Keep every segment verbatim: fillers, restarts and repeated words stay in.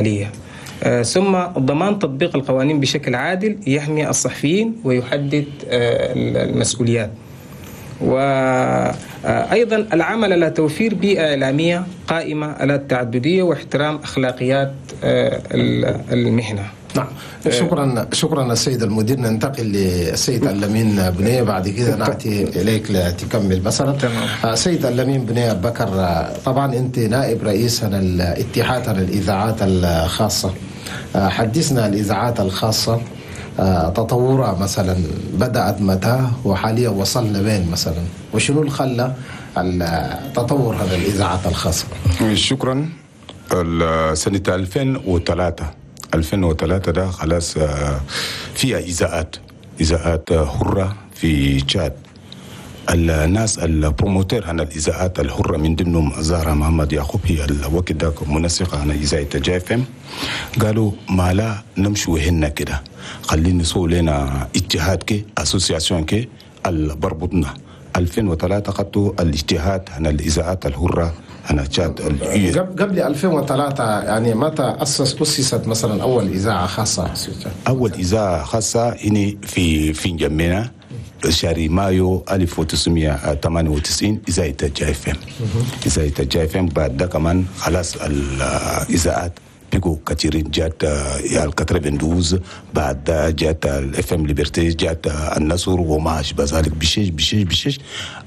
المالية. ثم ضمان تطبيق القوانين بشكل عادل يحمي الصحفيين ويحدد المسؤوليات. وأيضا العمل على توفير بيئة إعلامية قائمة على التعددية واحترام أخلاقيات المهنة. نعم، شكرا شكرا السيد المدير. ننتقل للسيد اللمين بنية، بعد كده نأتي إليك لتكمل مثلا. تمام. سيد اللمين بنية بكر، طبعا أنت نائب رئيس الاتحاد الإذاعات الخاصة، حدثنا الإذاعات الخاصة تطورها مثلا بدأت متى وحاليا وصلنا وين مثلا، وشنو اللي خلى التطور هذا الإذاعات الخاصة؟ شكرا. سنة ألفين وثلاثة ألفين وثلاثة ده خلاص فيها إذاعات إذاعات حرة في تشاد. الناس ال promoteurs عن الإذاعات الحرة من ضمنهم زهرة محمد يعقوب، هي الوقت ده منسقة عن إذاعة جي اف ام، قالوا ما لا نمشوا هنا كده، خلينا نسوي لنا اتحاد كي association كي بربطنا. ألفين وثلاثة خدتوا الاتحاد عن الإذاعات الحرة أنا تشاد. قبل ألفين وثلاثة يعني متى أسس أسست مثلا أول إذاعة خاصة؟ أول إذاعة خاصة هنا في في جمينا شهر مايو ألف وتسعمائة وثمانية وتسعين إذاعة جي اف ام. إذاعة جي اف ام بعد ده كمان خلاص الإذاعات بيجوا كثيرين، جات ال اتنين وتسعين، بعد جات ال FM Liberté، جات النصر وما اشبه ذلك. بشيش بشيش بشيش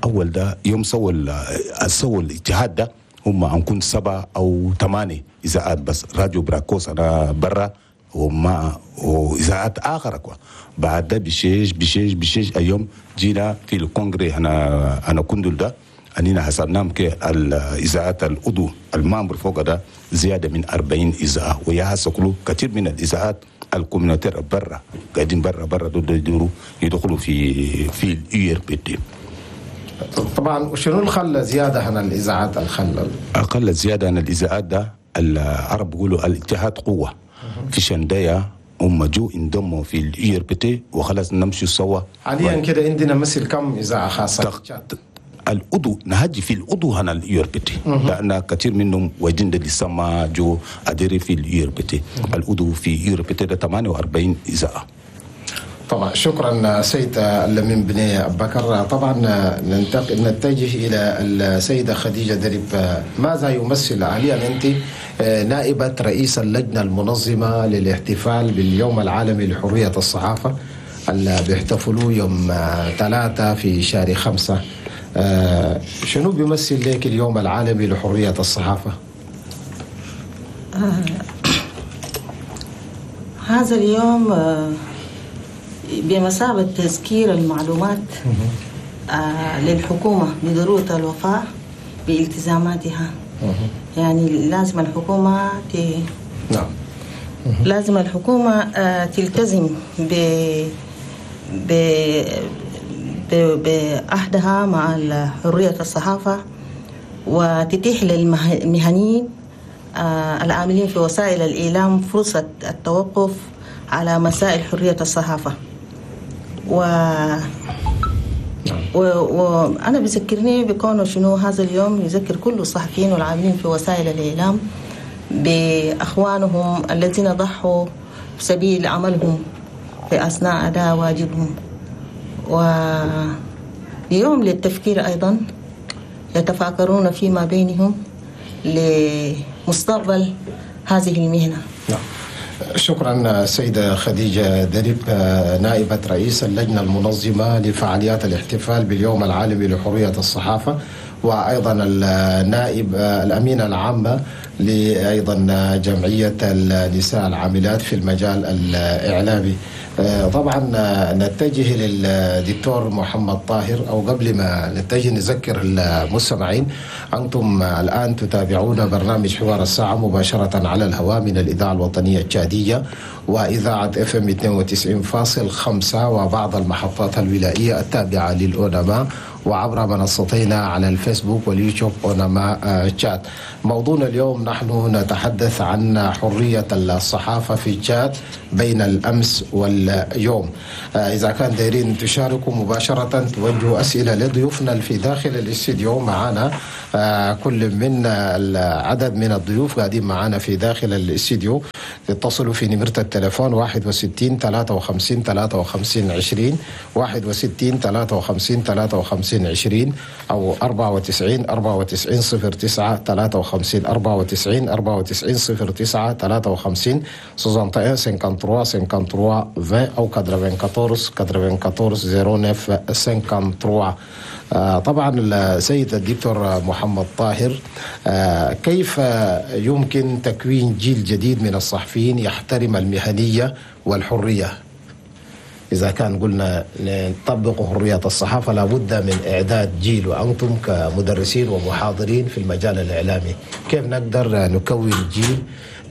اول ده يوم سووا سووا الاتحاد ده هم هنكون سبعة او ثمانية اذاعات بس، راديو براكوس انا برا وما واذاعات اخرى كوا. بعد ده بشيش بشيش بشيش اليوم جينا في ال congrès هنا انا كندل ده اننا حسبناهم كالاذاعات العضو ال membres فوق ده زيادة من أربعين اذاعه، ويا كله كثير من الاذاعات ال communautaires برا قاعدين برا برا دول يدخلوا في في ال URPT. طبعا وشنو الخلى زيادة عن الاذاعات؟ الخلى اقل زيادة عن الاذاعات ده العرب بيقولوا الاتحاد قوة. في شندايا هم جو انضموا في ال URPT وخلاص نمشي سوا. حاليا كده عندنا مثل كم اذاعة خاصة؟ تق... العضو نهجي في العضو هنا ال URPT، لان كثير منهم وجند لسه ما جو adhérer في ال URPT. العضو في URPT ده ثمانية وأربعين اذاعة. طبعا شكرا سيد اللمين بني بكر. طبعا ننتقل نتجه الى السيدة خديجة درب. ماذا يمثل حاليا انت نائبه رئيس اللجنة المنظمة للاحتفال باليوم العالمي لحرية الصحافة اللي بيحتفلوا يوم ثلاثة في شهر خمسة، شنو بيمثل لك اليوم العالمي لحرية الصحافة؟ آه هذا اليوم آه بمثابة تذكير المعلومات آه للحكومة بضرورة الوفاء بالتزاماتها. يعني لازم الحكومة ت... نعم لازم الحكومة آه تلتزم ب ب بعهدها مع حرية الصحافة، وتتيح للمهنيين آه العاملين في وسائل الإعلام فرصة التوقف على مسائل حرية الصحافة. و... و... وأنا بذكرني بكونه شنو هذا اليوم يذكر كل الصحفيين والعاملين في وسائل الإعلام بأخوانهم الذين ضحوا بسبيل عملهم في أثناء أداء واجبهم. ويوم للتفكير أيضا، يتفاكرون فيما بينهم لمستقبل هذه المهنة. نعم. شكرا سيدة خديجة درب، نائبة رئيس اللجنة المنظمة لفعاليات الاحتفال باليوم العالمي لحرية الصحافة، وأيضا النائب الأمينة العامة لأيضا جمعية النساء العاملات في المجال الإعلامي. طبعا نتجه للدكتور محمد طاهر، أو قبل ما نتجه نذكر المستمعين أنتم الآن تتابعون برنامج حوار الساعة مباشرة على الهواء من الإذاعة الوطنية التشادية وإذاعة اف ام اثنين وتسعين فاصل خمسة وبعض المحطات الولائية التابعة للأونما وعبر منصتينا على الفيسبوك واليوتيوب أونما تشاد. موضوعنا اليوم نحن نتحدث عن حرية الصحافة في تشاد بين الأمس واليوم. إذا كان دايرين تشاركوا مباشرة توجهوا أسئلة لضيوفنا في داخل الاستديو. معنا كل من العدد من الضيوف قاعدين معنا في داخل الاستديو. تتصلوا في نمرة التليفون واحد وستين ثلاثة وخمسين ثلاثة وخمسين عشرين، واحد وستين ثلاثة وخمسين ثلاثة وخمسين عشرين، أو أربعة وتسعين أربعة وتسعين صفر تسعة ثلاثة وخمسين، أربعة وتسعين أربعة وتسعين صفر تسعة ثلاثة وخمسين، soixante et un cinquante-trois cinquante-trois vingt أو quatre-vingt-quatorze quatre-vingt-quatorze zéro neuf cinquante-trois. طبعا السيد الدكتور محمد طاهر، كيف يمكن تكوين جيل جديد من الصحفيين يحترم المهنية والحرية؟ إذا كان قلنا نطبق حرية الصحافة لابد من إعداد جيل، وأنتم كمدرسين ومحاضرين في المجال الإعلامي كيف نقدر نكون جيل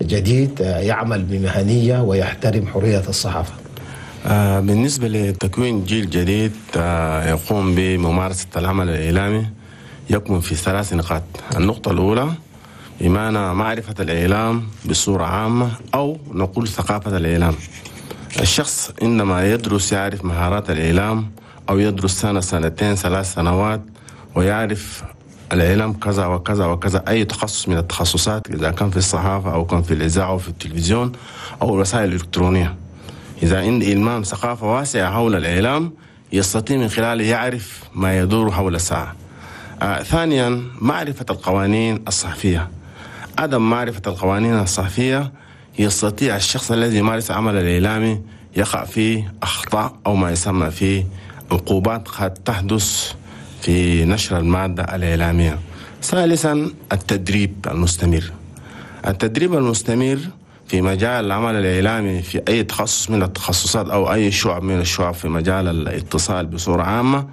جديد يعمل بمهنية ويحترم حرية الصحافة؟ بالنسبة لتكوين جيل جديد يقوم بممارسة العمل الإعلامي يكمن في ثلاث نقاط. النقطة الأولى بمعنى معرفة الإعلام بصورة عامة، أو نقول ثقافة الإعلام. الشخص عندما يدرس يعرف مهارات الإعلام، أو يدرس سنة سنتين ثلاث سنوات ويعرف الإعلام كذا وكذا وكذا، أي تخصص من التخصصات، إذا كان في الصحافة أو كان في الإذاعة أو في التلفزيون أو الوسائل الإلكترونية. إذا عند إلمام ثقافة واسعة حول الإعلام يستطيع من خلاله يعرف ما يدور حول الساعة. آه ثانيا معرفة القوانين الصحفية. عدم معرفة القوانين الصحفية يستطيع الشخص الذي يمارس عمل الإعلامي يقع في أخطاء أو ما يسمى في عقوبات قد تحدث في نشر المادة الإعلامية. ثالثا التدريب المستمر. التدريب المستمر في مجال العمل الإعلامي في أي تخصص من التخصصات أو أي شعب من الشعب في مجال الاتصال بصورة عامة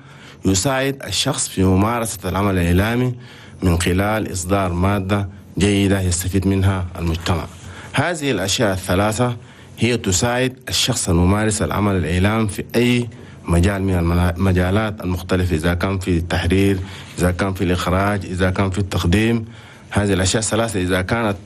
يساعد الشخص في ممارسة العمل الإعلامي من خلال إصدار مادة جيدة يستفيد منها المجتمع. هذه الأشياء الثلاثة هي تساعد الشخص الممارس العمل الإعلام في أي مجال من المجالات المختلفة، إذا كان في التحرير، إذا كان في الإخراج، إذا كان في التقديم. هذه الأشياء الثلاثة إذا كانت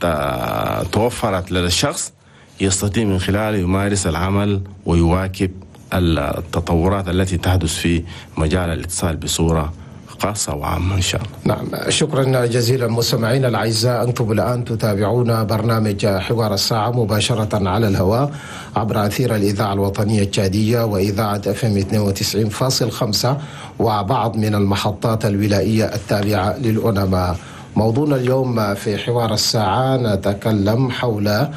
توفرت لدى الشخص يستطيع من خلاله يمارس العمل ويواكب التطورات التي تحدث في مجال الاتصال بصورة خاصة وعامة إن شاء الله. نعم، شكرا جزيلا مستمعينا الأعزاء. أنتم الآن تتابعون برنامج حوار الساعة مباشرة على الهواء عبر أثير الإذاعة الوطنية التشادية وإذاعة اف ام اثنين وتسعين فاصل خمسة وبعض من المحطات الولائية التابعة للأونما. موضوعنا اليوم في حوار الساعة نتكلم حول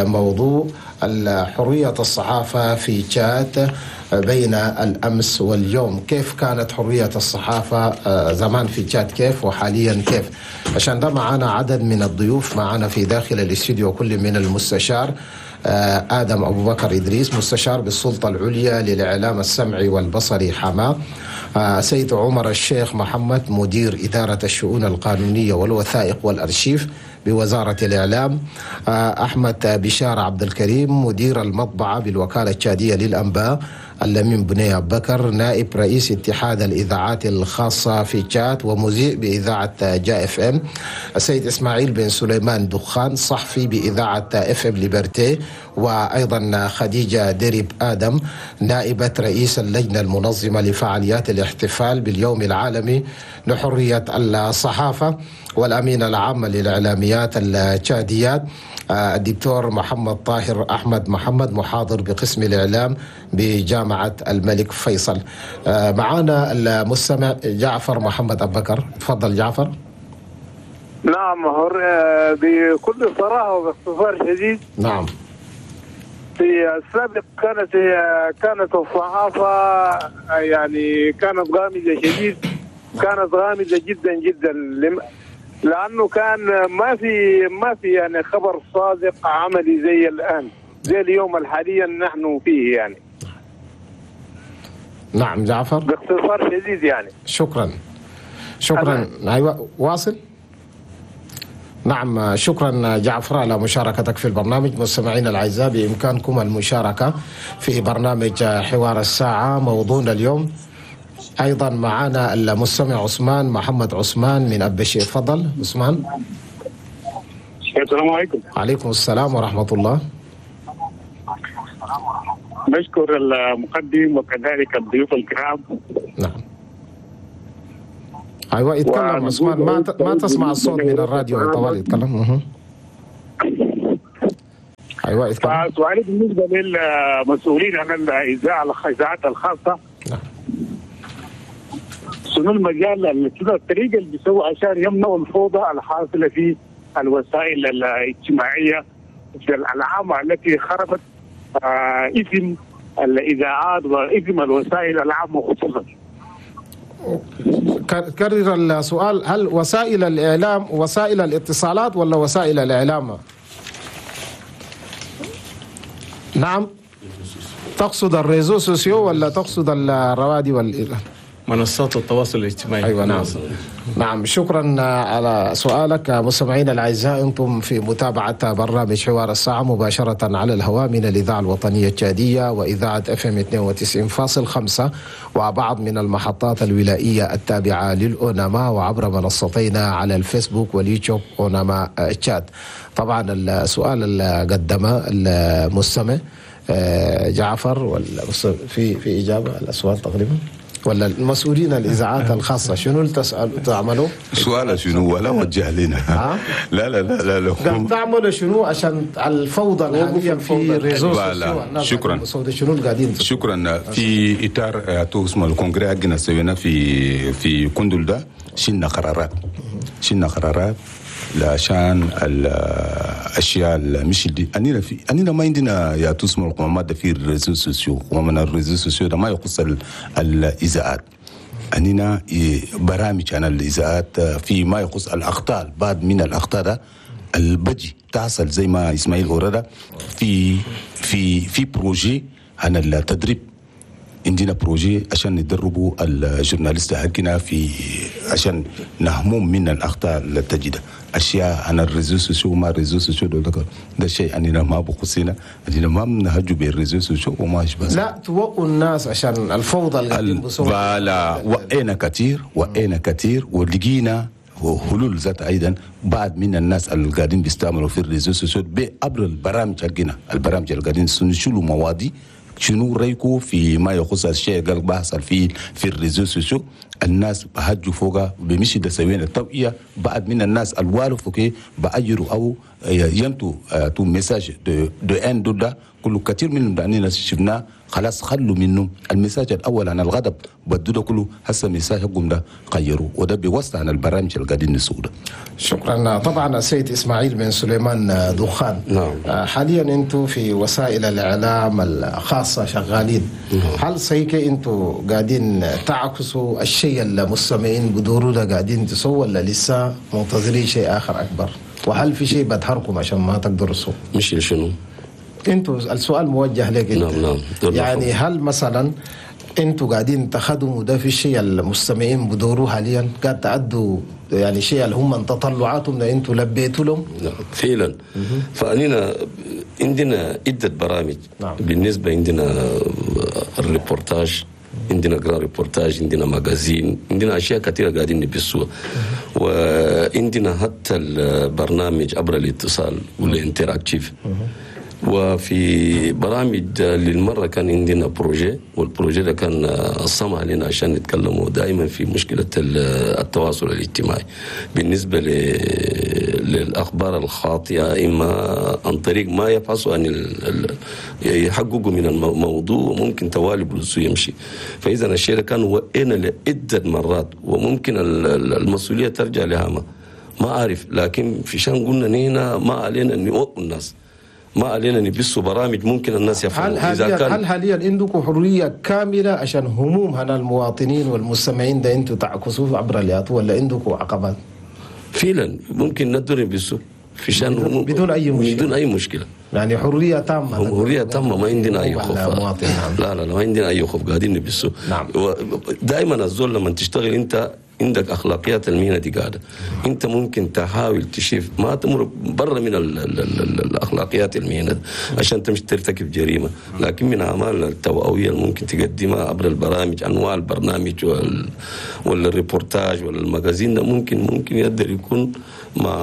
موضوع حرية الصحافة في تشاد بين الأمس واليوم. كيف كانت حرية الصحافة زمان في تشاد كيف، وحاليا كيف؟ عشان ده معنا عدد من الضيوف معنا في داخل الاستوديو، كل من المستشار آدم أبو بكر إدريس مستشار بالسلطة العليا للإعلام السمعي والبصري حماة، سيد عمر الشيخ محمد مدير إدارة الشؤون القانونية والوثائق والأرشيف بوزارة الإعلام، أحمد بشار عبد الكريم مدير المطبعة بالوكالة التشادية للأنباء، اللمين بني بكر نائب رئيس اتحاد الإذاعات الخاصة في تشاد ومذيع بإذاعة جا اف ام، السيد إسماعيل بن سليمان دخان صحفي بإذاعة اف ام ليبرتي، وأيضا خديجة دريب آدم نائبة رئيس اللجنة المنظمة لفعاليات الاحتفال باليوم العالمي لحرية الصحافة، والأمين العام للإعلاميات التشاديات الدكتور محمد طاهر أحمد محمد محاضر بقسم الإعلام بجامعة الملك فيصل. معانا المستمع جعفر محمد أبو بكر، تفضل جعفر. نعم، بكل صراحة وباختصار شديد. نعم، في السابق كانت كانت الصحافة يعني كانت غامضة شديد، كانت غامضة جدا جدا، لأنه كان ما في ما في يعني خبر صادق عملي زي الآن، زي اليوم الحاليا نحن فيه يعني. نعم جعفر، باختصار شديد يعني. شكرا شكرا. أيوة واصل. نعم، شكرا جعفر على مشاركتك في البرنامج. مستمعينا الأعزاء بإمكانكم المشاركة في برنامج حوار الساعة. موضوعنا اليوم ايضا معنا المستمع عثمان محمد عثمان من ابشي. تفضل عثمان. السلام عليكم. عليكم السلام ورحمة الله. نشكر المقدم وكذلك الضيوف الكرام. نعم. ايوه يتكلم عثمان، ما ما تسمع الصوت من الراديو طوال يتكلم. ايوه يتكلم. فسؤالي بالنسبة للمسؤولين عن الاذاعة الاذاعات الخاصة، نعم، شنو المجال الطريقة اللي بيسووا عشان يمنعوا الفوضى الحاصلة في الوسائل الاجتماعية العامة التي خربت اسم الاذاعات واسم الوسائل العامة خصوصا؟ كرر السؤال، هل وسائل الاعلام وسائل الاتصالات ولا وسائل الاعلام؟ نعم، تقصد ال réseaux sociaux ولا تقصد الروادي وال منصات التواصل الاجتماعي؟ أيوة نعم. نعم، شكرا على سؤالك. مستمعينا الأعزاء، أنتم في متابعة برنامج حوار الساعة مباشرة على الهواء من الإذاعة الوطنية التشادية وإذاعة اف ام اثنين وتسعين فاصل خمسة وبعض من المحطات الولائية التابعة للأوناما، وعبر منصتينا على الفيسبوك واليوتيوب أوناما تشاد. طبعا السؤال اللي قدمه المستمع جعفر في في إجابة على السؤال تقريبا، ولا المسؤولين الاذاعات الخاصة شنو اللي تسالوا تعملوا؟ سؤال شنو ولا وجه لنا؟ لا لا لا لا لا، تعملوا شنو عشان الفوضى الحالية في réseaux sociaux؟ شكرا. شنو اللي قاعدين؟ شكرا. في اطار اسمه ال congrès حقنا سوينا في في كندل ده، شلنا قرارات شلنا قرارات عشان الاشياء مش دي. اننا في اننا ما عندنا يا تسمى القمامات في ال réseaux sociaux، ومن ال réseaux sociaux ده ما يخص الاذاعات. اننا برامج عن الاذاعات في ما يخص الاخطاء، بعض من الاخطاء ده البجي تحصل زي ما اسماعيل اوردا في في في projet عن التدريب. عندنا projet عشان ندربوا ال journalistes حقنا في عشان نهمهم من الاخطاء اللي تجدها اشياء عن ال réseaux sociaux. ما ال réseaux sociaux ده ده شيء اننا ما بخصنا، اننا ما بنهجوا بال réseaux sociaux وما اشبه. لا توقوا الناس عشان الفوضى اللي بلا وقينا كثير وقينا كثير ولقينا حلول ذات ايضا. بعض من الناس اللي قاعدين بيستعملوا في ال réseaux sociaux عبر البرامج حقنا، البرامج اللي قاعدين نشيلوا مواضيع شنو رايكو في ما يخص الشيء قال بحصل في في ال réseaux sociaux. الناس بهجوا فوقها بمشي ده سوينا التوعية. بعد من الناس الوالف okay باجروا او ينتو تو messages de de ان دو ده كله كثير منهم دانينا شفناه خلاص خلوا منه ال message الاول عن الغضب بدو ده كله هسه message حقهم ده غيروا، وده بيوسع عن البرامج اللي قاعدين نسوق. شكرا. طبعا السيد اسماعيل بن سليمان دخان، نعم، حاليا انتم في وسائل الاعلام الخاصة شغالين، هل صحيح انتم قاعدين تعكسوا الشيء اللي المستمعين بدوروا ده قاعدين تسووا، ولا لسه منتظرين شيء اخر اكبر؟ وهل في شيء بدهركم عشان ما تقدروا تسووا؟ مش شنو؟ انتوا السؤال موجه لك انت. نعم نعم. يعني هل مثلا انتوا قاعدين تخدموا ده في الشيء المستمعين بدوروه حاليا؟ قاعد تعدوا يعني شيء اللي هم تطلعاتهم ده انتوا لبيتوا لهم؟ نعم فعلا. فاننا عندنا عده برامج. نعم. بالنسبة عندنا الريبورتاج، عندنا grand reportage، عندنا magazine، عندنا اشياء كثيرة قاعدين نبثوها، وعندنا حتى البرنامج عبر الاتصال وال interactif. وفي برامج للمرة كان عندنا projet، وال projet ده كان الصمع لنا عشان نتكلموا دائما في مشكلة التواصل الاجتماعي بالنسبة للأخبار الخاطئة، إما عن طريق ما يبحثوا عن يحققوا من الموضوع وممكن توالي بلوسو يمشي. فإذا الشيء ده كان وقينا لعدة مرات، وممكن المسؤولية ترجع لها ما ما أعرف، لكن في شان قلنا نحن ما علينا أن نوقف الناس، ما علينا نبثوا برامج ممكن الناس يفهموا. هل حاليا كان هل حاليا عندكم حرية كاملة عشان هموم هنا المواطنين والمستمعين ده انتم تعكسوه عبر اليات، ولا عندكم عقبات؟ فعلا ممكن ندور نبثوا في شان بدون, بدون اي مشكلة، بدون اي مشكلة، يعني حرية تامة، حرية تامة، ما عندنا اي خوف. لا لا لا ما عندنا اي خوف، قاعدين نبثوا. نعم. دائما الزول لما تشتغل انت عندك اخلاقيات المهنة دي قاعدة، انت ممكن تحاول تشوف ما تمر برا من ال ال ال الاخلاقيات المهنة عشان تمشي ترتكب جريمة، لكن من اعمال التوعوية اللي ممكن تقدمها عبر البرامج، انواع البرنامج وال ولا الريبورتاج ولا ال magazine ده ممكن ممكن يقدر يكون ما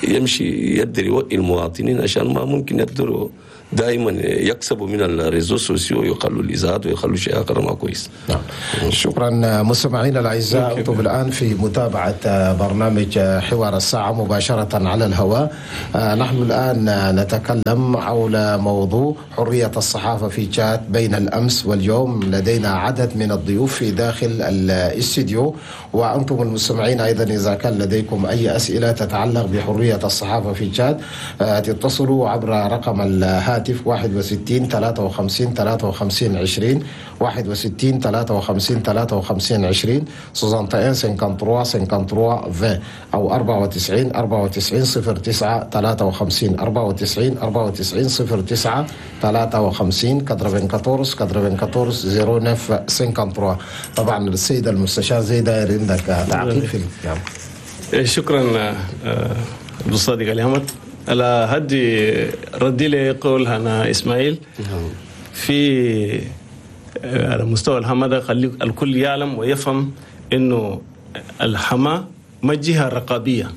يمشي يقدر يوعي المواطنين عشان ما ممكن يقدروا دائما يكسبوا من ال réseaux sociaux، يخلوا الاذاعات ويخلوا شيء اخر ما كويس. نعم. شكرا مستمعينا الاعزاء، انتم الان في متابعه برنامج حوار الساعة مباشرة على الهواء. نحن الان نتكلم حول موضوع حرية الصحافة في تشاد بين الامس واليوم. لدينا عدد من الضيوف في داخل الاستديو، وانتم المستمعين ايضا اذا كان لديكم اي اسئلة تتعلق بحرية الصحافة في تشاد تتصلوا عبر رقم الهاتف واحد وستين ثلاثة وخمسين ثلاثة وخمسين عشرين، واحد وستين ثلاثة وخمسين ثلاثة وخمسين عشرين، soixante et un cinquante-trois cinquante-trois vingt، أو أربعة وتسعين أربعة وتسعين صفر تسعة ثلاثة وخمسين، أربعة وتسعين أربعة وتسعين صفر تسعة ثلاثة وخمسين، quatre-vingt-quatorze quatre-vingt-quatorze zéro neuf cinquante-trois. طبعا السيد المستشار زي داير عندك تعقيب في الكلام. شكرا أبو الصادق علي. على هدي ردي لي قول أنا إسماعيل في على مستوى الهما، خلي الكل يعلم ويفهم إنه الحما ما جهة رقابية،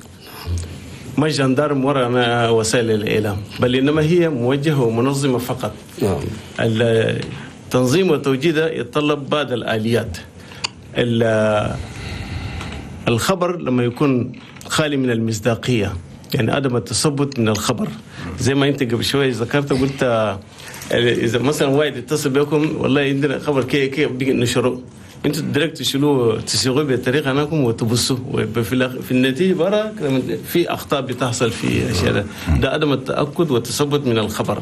ما gendarme وراء وسائل الإعلام، بل إنما هي موجهة ومنظمة فقط. التنظيم والتوجيه يتطلب بعض الآليات. الخبر لما يكون خالي من المصداقية، يعني عدم التثبت من الخبر، زي ما انت قبل شوية ذكرت قلت اذا مثلا واحد يتصل بكم والله عندنا خبر كي كي بيجي نشره، انتوا direct تشيلوه تسيغوه بطريقة انكم وتبصوا، وفي في النتيجة برا في اخطاء بتحصل في اشياء ده. ده عدم التاكد والتثبت من الخبر.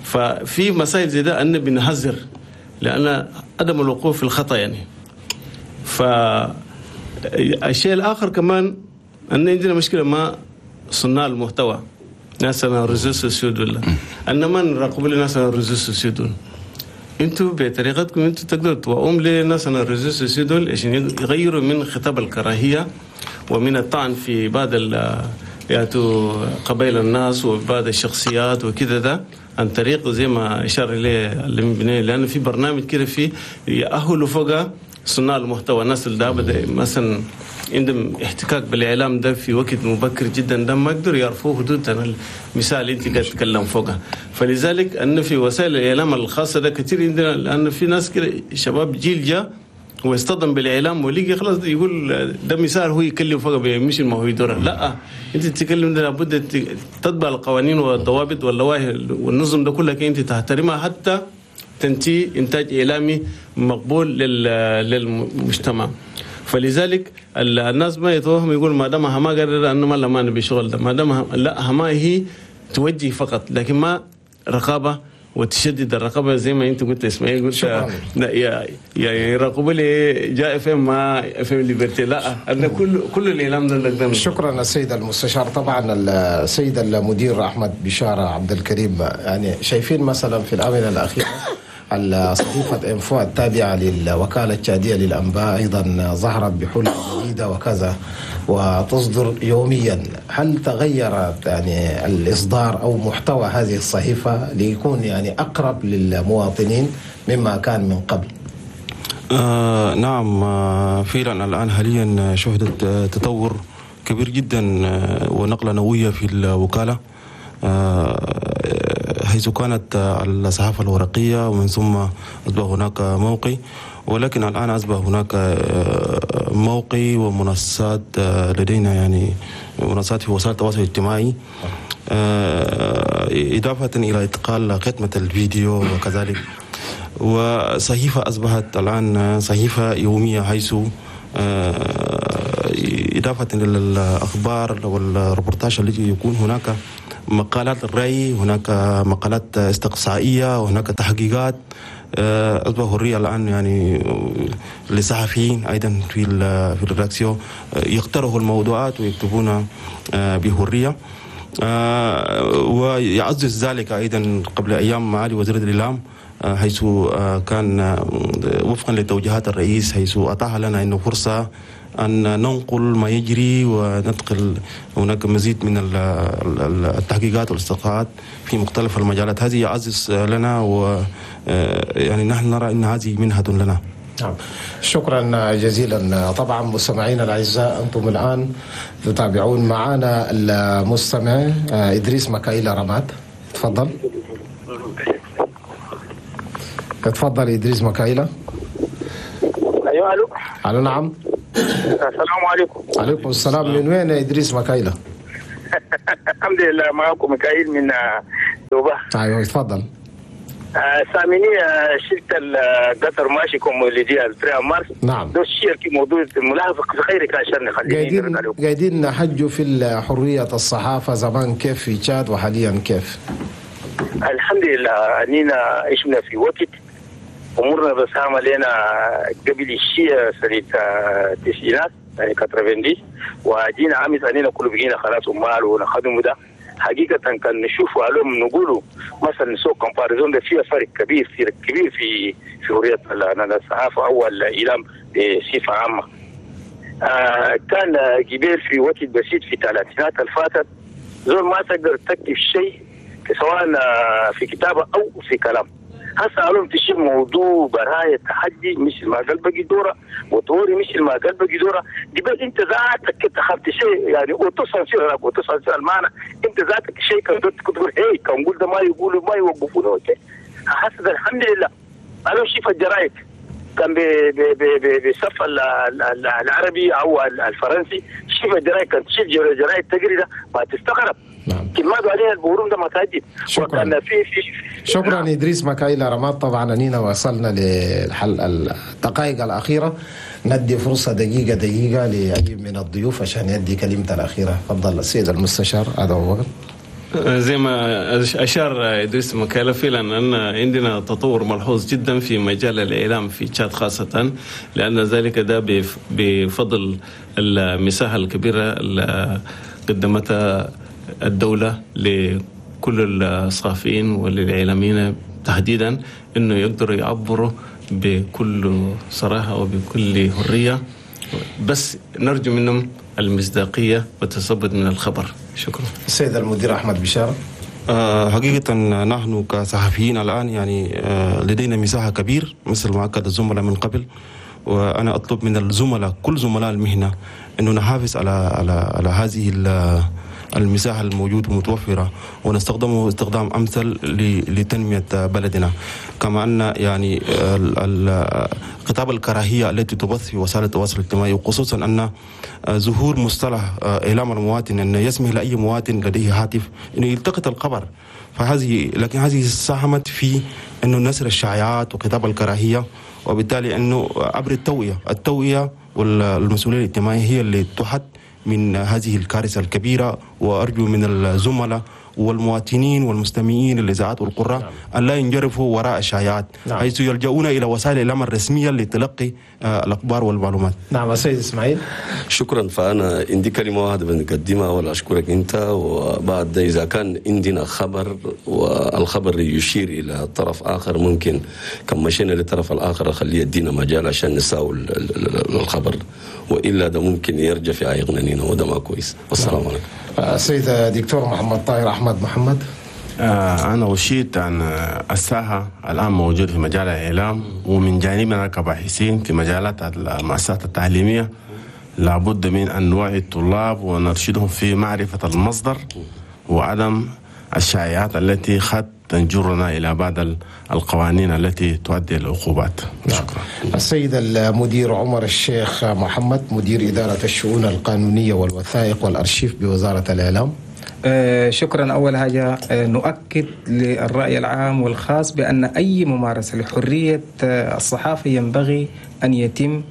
ففي مسائل زي ده ان بنحذر لان عدم الوقوع في الخطا يعني. فالشيء الاخر كمان ان عندنا مشكلة مع صناع المحتوى، ناس انا réseaux sociaux دول، ان ما نراقب لناس انا réseaux sociaux دول. انتوا بطريقتكم انتوا تقدروا توعوهم لناس انا réseaux sociaux دول عشان يغيروا من خطاب الكراهية ومن الطعن في بعض يعني قبائل الناس وبعض الشخصيات وكذا ده، عن طريق زي ما اشار اليه اللي، لانه في برنامج كده في يأهلوا فوق صناع المحتوى، الناس اللي ده مثلا عندهم احتكاك بالاعلام ده في وقت مبكر جدا، ده ما يقدروا يعرفوا حدود المثال اللي انت قاعد تتكلم فوقها. فلذلك ان في وسائل الاعلام الخاصة ده كثير عندنا، لان في ناس كده شباب جيل جاء واصطدم بالاعلام ولقي خلاص يقول ده مثال هو يتكلم فوق مش ما هو يدور. لا، انت تتكلم ده لابد تتبع القوانين والضوابط واللوائح والنظم ده كلها انت تحترمها حتى تنتهي انتاج اعلامي مقبول للمجتمع. فلذلك الناس ما يتوهم يقول ما دام ما قرر انه ما ما نبي شغل ده، ما دام لا ما هي توجه فقط، لكن ما رقابه وتشدد الرقابة زي ما انت قلت اسماعيل، قلت لا يا يا يراقبوا لي جاء اف ام ما FM Liberté، لا انا كل كل الاعلام ده قدام. شكرا السيد المستشار. طبعا السيد المدير احمد بشارة عبد الكريم، يعني شايفين مثلا في الاونة الاخيرة صحيفة انفو التابعة للوكالة التشادية للأنباء أيضا ظهرت بحلة جديدة وكذا وتصدر يوميا. هل تغيرت يعني الإصدار أو محتوى هذه الصحيفة ليكون يعني أقرب للمواطنين مما كان من قبل؟ آه نعم، آه فعلا الآن حاليا شهدت تطور كبير جدا ونقلة نوعية في الوكالة، حيث كانت الصحافة الورقية ومن ثم أصبح هناك موقع، ولكن الآن أصبح هناك موقع ومنصات لدينا، يعني منصات في وسائل التواصل الاجتماعي، إضافة إلى إدخال خدمة الفيديو وكذلك. وصحيفة أصبحت الآن صحيفة يومية، حيث إضافة للأخبار والريبورتاج التي يكون هناك مقالات الرأي، هناك مقالات استقصائية، وهناك تحقيقات. أصبح حرية الآن يعني للصحفيين أيضا في في ال rédaction يقترحوا الموضوعات ويكتبون بحرية، ويعزز ذلك أيضا قبل أيام معالي وزير الإعلام حيث كان وفقا لتوجيهات الرئيس، حيث أتاح لنا أنه فرصة أن ننقل ما يجري وندخل هناك مزيد من التحقيقات والاستقراءات في مختلف المجالات. هذه يعزز لنا، و يعني نحن نرى أن هذه منحة لنا. نعم، شكرا جزيلا. طبعا مستمعينا الأعزاء، أنتم الآن تتابعون معنا المستمع إدريس مكايلة رماد. تفضل تفضل إدريس مكايلة. أيوة، ألو. ألو، نعم. السلام عليكم. عليكم السلام. من وين يا إدريس مكايلة؟ الحمد لله، معكم مكايل من دوبا. أيوة، تفضل. ساميني شلت القطر ماشي كوم اللي دي الفريق مارس. نعم. ده الشيء في موضوع ملاحظة خيرك عشان نخليه. قاعدين قاعدين نحجوا في حرية الصحافة زمان كيف في تشاد وحاليا كيف؟ الحمد لله، أنينا عشنا في وقت امورنا بس عملنا قبل الشيء سنة التسعينات يعني تسعين، وجينا عمس اننا كله بقينا خلاص امال ونخدمه ده. حقيقة كان نشوفه عليهم نقولوا مثلا نسوق comparaison ده فيها فرق كبير فرق كبير في في حرية الصحافة او الاعلام بصفة عامة. آه كان جبال في وقت بسيط في الثلاثينات الفاتت زول ما تقدر تكتب شيء سواء في كتابه او في كلام. هسه علوم تشيل موضوع براية تحدي مثل ما قال بقي دورة وطوري مثل ما قال بقي دورة قبل انت ذاتك اتخذت شيء يعني وتصل وتصل المعنى انت ذاتك شيء كنت تقول هي كان قول ده ما يقولوا ما يوقفونه. هسه الحمد لله انا شايف الجرايد كان بصف العربي او الفرنسي، شوف الجرايد كان تشيل جرايد تجري ده ما تستغرب. نعم. كلمات عليها البورون ده ما تهدد. شكرا. في في شكرا. نعم. إدريس مكايلة رماد. طبعا أنينا وصلنا للحلقة الدقائق الأخيرة، ندي فرصة دقيقة دقيقة لأي من الضيوف عشان يدي كلمته الأخيرة. تفضل السيد المستشار آدم أبو بكر. زي ما أشار إدريس مكايلة فعلا أن عندنا تطور ملحوظ جدا في مجال الإعلام في تشاد، خاصة لأن ذلك ده بفضل المساحة الكبيرة اللي قدمتها الدولة لكل الصحفيين وللإعلاميين تحديدا، أنه يقدروا يعبروا بكل صراحة وبكل حرية، بس نرجو منهم المصداقية والتثبت من الخبر. شكرا. السيد المدير أحمد بشارة. أه حقيقة نحن كصحفيين الآن يعني أه لدينا مساحة كبير مثل ما أكد الزملاء من قبل، وأنا أطلب من الزملاء كل زملاء المهنة أنه نحافظ على على على هذه المساحة الموجودة ومتوفرة ونستخدمه استخدام أمثل لتنمية بلدنا. كما أن يعني خطاب الكراهية التي تبث في وسائل التواصل الاجتماعي، وخصوصا أن ظهور مصطلح إعلام المواطن أن يسمح لأي مواطن لديه هاتف أنه يلتقط الخبر، فهذه لكن هذه ساهمت في أنه نشر الشائعات وخطاب الكراهية، وبالتالي أنه عبر التوعية التوعية والمسؤولية الاجتماعية هي اللي تحد من هذه الكارثة الكبيرة. وأرجو من الزملاء والمواطنين والمستمعين الإذاعات والقراء نعم. أن لا ينجرفوا وراء الشائعات، نعم. حيث يلجؤون إلى وسائل الإعلام الرسمية لتلقي الأخبار والمعلومات. نعم السيد إسماعيل. شكرا. فأنا عندي كلمة واحدة بنقدمها ولا أشكرك أنت، وبعد إذا كان عندنا خبر والخبر يشير إلى طرف آخر ممكن كم مشينا للطرف الآخر خليه يدينا مجال عشان نساوي الخبر، وإلا ده ممكن يرجع في عيقنا نينا وده ما كويس. والسلام نعم. عليكم. السيد دكتور محمد طاهر أحمد محمد. آه أنا أشيد أن الساحة الآن موجودة في مجال الإعلام، ومن جانبنا كباحثين في مجالات المؤسسات التعليمية لابد من أن نوعي الطلاب ونرشدهم في معرفة المصدر وعدم الشائعات التي قد تنجرنا إلى بعض القوانين التي تؤدي العقوبات. شكرا. السيد المدير عمر الشيخ محمد، مدير إدارة الشؤون القانونية والوثائق والأرشيف بوزارة الإعلام. آه شكرا. أول حاجة آه نؤكد للرأي العام والخاص بأن أي ممارسة لحرية آه الصحافة ينبغي أن يتم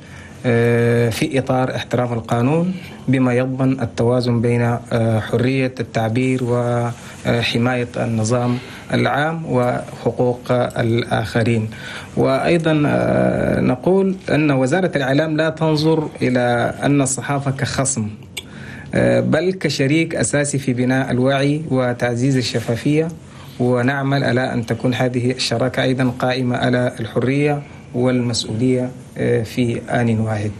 آه في إطار احترام القانون، بما يضمن التوازن بين آه حرية التعبير وحماية النظام العام وحقوق الآخرين. وأيضا آه نقول أن وزارة الإعلام لا تنظر إلى أن الصحافة كخصم، بل كشريك أساسي في بناء الوعي وتعزيز الشفافية ونعمل على أن تكون هذه الشراكة أيضا قائمة على الحرية والمسؤولية في آن واحد.